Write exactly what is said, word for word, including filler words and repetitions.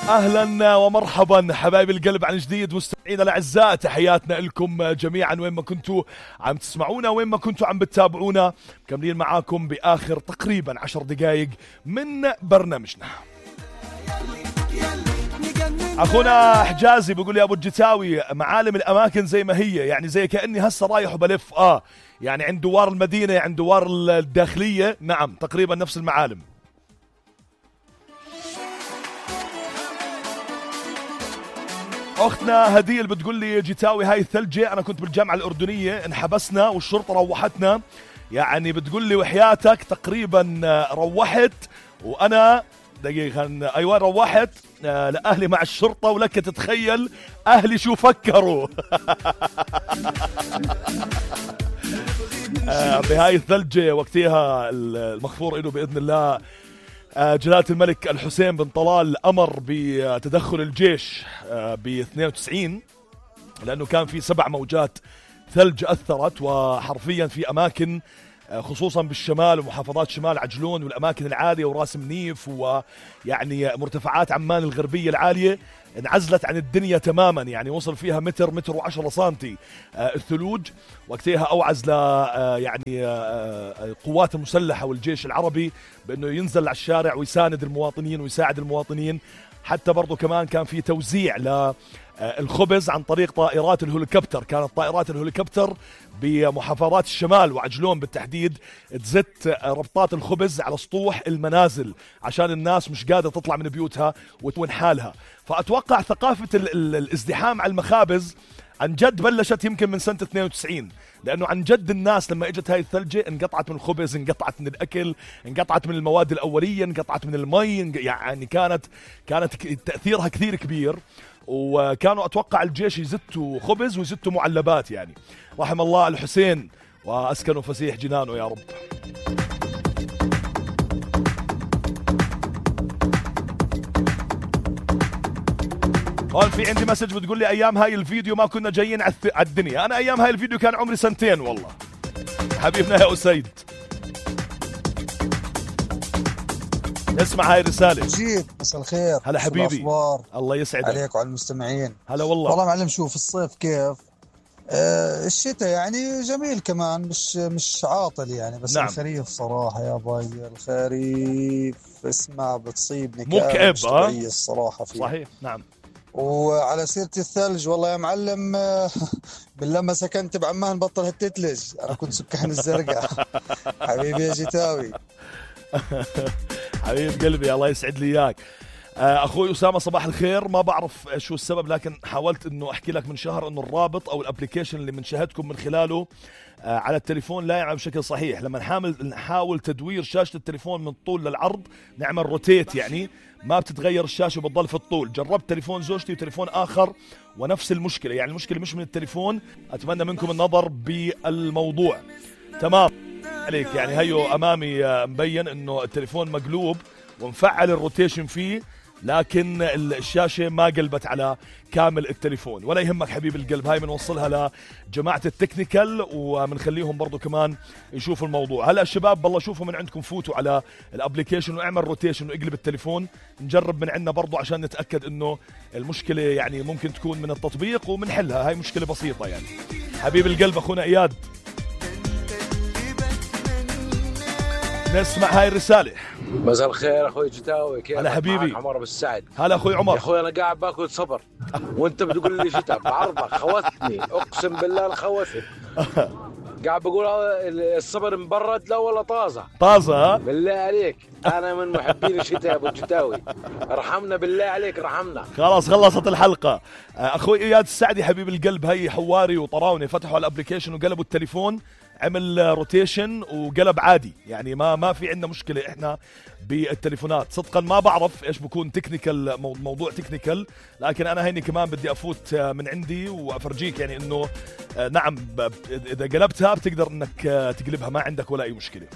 أهلا ومرحبا حبايب القلب عن جديد مستمعينا الأعزاء، تحياتنا لكم جميعا وين ما كنتوا عم تسمعونا وين ما كنتوا عم بتتابعونا. مكملين معاكم بآخر تقريبا عشر دقائق من برنامجنا. أخونا حجازي بيقول لي أبو الجتاوي معالم الأماكن زي ما هي، يعني زي كأني هسه رايح وبلف آه يعني عند دوار المدينة عند دوار الداخلية، نعم تقريبا نفس المعالم. أختنا هديل بتقول لي جتاوي هاي الثلجة أنا كنت بالجامعة الأردنية انحبسنا والشرطة روحتنا، يعني بتقول لي وحياتك تقريبا روحت وأنا دقيقة أيوة روحت لأهلي مع الشرطة، ولك تتخيل أهلي شو فكروا بهاي الثلجة وقتها. المغفور إله بإذن الله جلالة الملك الحسين بن طلال أمر بتدخل الجيش ب اثنين وتسعين لأنه كان في سبع موجات ثلج أثرت، وحرفيا في أماكن خصوصا بالشمال ومحافظات شمال عجلون والأماكن العالية وراس منيف ويعني مرتفعات عمان الغربية العالية انعزلت عن الدنيا تماما، يعني وصل فيها متر متر وعشرة سنتي الثلوج. وقتها أوعز ل يعني القوات المسلحة والجيش العربي بأنه ينزل على الشارع ويساند المواطنين ويساعد المواطنين. حتى برضو كمان كان في توزيع للخبز عن طريق طائرات الهليكوبتر، كانت طائرات الهليكوبتر بمحافظات الشمال وعجلون بالتحديد تزت ربطات الخبز على سطوح المنازل عشان الناس مش قادرة تطلع من بيوتها وتون حالها. فأتوقع ثقافة الازدحام على المخابز عن جد بلشت يمكن من سنة اثنين وتسعين، لأنه عن جد الناس لما اجت هاي الثلجة انقطعت من الخبز، انقطعت من الأكل، انقطعت من المواد الأولية، انقطعت من المي، يعني كانت كانت تأثيرها كثير كبير. وكانوا أتوقع الجيش يزتوا خبز ويزتوا معلبات، يعني رحم الله الحسين وأسكنوا فسيح جنانه يا رب. هون في عندي مسج بتقول لي أيام هاي الفيديو ما كنا جايين على الدنيا. أنا أيام هاي الفيديو كان عمري سنتين والله حبيبنا يا أسيد. اسمع هاي الرسالة. جيت مساء الخير. هلا حبيبي الله يسعدك عليك وعلى المستمعين. هلا والله. والله معلم شوف الصيف كيف آه الشتاء يعني جميل كمان مش مش عاطل يعني، بس نعم. الخريف صراحة يا باي الخريف اسمع بتصيبني مكئب مش طبيعية الصراحة فيه. صحيح نعم. وعلى سيرة الثلج والله يا معلم بالله ما سكنت بعمان بطل هالتتلج، أنا كنت سكان الزرقاء حبيبي يا جتاوي حبيب قلبي الله يسعد لي إياك. أخوي أسامة صباح الخير. ما بعرف شو السبب لكن حاولت أنه أحكي لك من شهر أنه الرابط أو الابليكيشن اللي منشاهدكم من خلاله على التليفون لا يعمل بشكل صحيح. لما نحاول نحاول تدوير شاشة التليفون من الطول للعرض نعمل روتيت يعني ما بتتغير الشاشة وبتضل في الطول. جربت تليفون زوجتي وتليفون آخر ونفس المشكلة، يعني المشكلة مش من التليفون. أتمنى منكم النظر بالموضوع. تمام عليك، يعني هيو أمامي مبين أنه التليفون مقلوب ومفعل الروتيشن فيه لكن الشاشة ما قلبت على كامل التليفون. ولا يهمك حبيب القلب، هاي بنوصلها لجماعة التكنيكال ومنخليهم برضو كمان يشوفوا الموضوع. هلا الشباب بالله شوفوا من عندكم، فوتوا على الابليكيشن واعمل روتيشن واقلب التليفون، نجرب من عندنا برضو عشان نتأكد انه المشكلة يعني ممكن تكون من التطبيق ومنحلها. هاي مشكلة بسيطة يعني. حبيب القلب اخونا اياد نسمع هاي الرسالة. مساء الخير اخوي جتاوي، كيف هلا حبيبي؟ عمر بالسعد. هلا اخوي عمر. يا اخوي انا قاعد باكل صبر وانت بتقول لي شتاء بعرضك، خوثني اقسم بالله خوثني. قاعد بقول الصبر مبرد لا ولا طازه طازه بالله عليك. انا من محبين الشتاء يا ابو الجتاوي، ارحمنا بالله عليك ارحمنا. خلاص خلصت الحلقه. اخوي اياد السعدي حبيب القلب، هي حواري وطراوني فتحوا الابليكيشن وقلبوا التليفون، عمل روتيشن وقلب عادي، يعني ما ما في عندنا مشكله احنا بالتليفونات. صدقا ما بعرف ايش بكون تكنيكال، موضوع تكنيكال، لكن انا هيني كمان بدي افوت من عندي وافرجيك يعني انه نعم اذا قلبتها بتقدر انك تقلبها ما عندك ولا اي مشكله.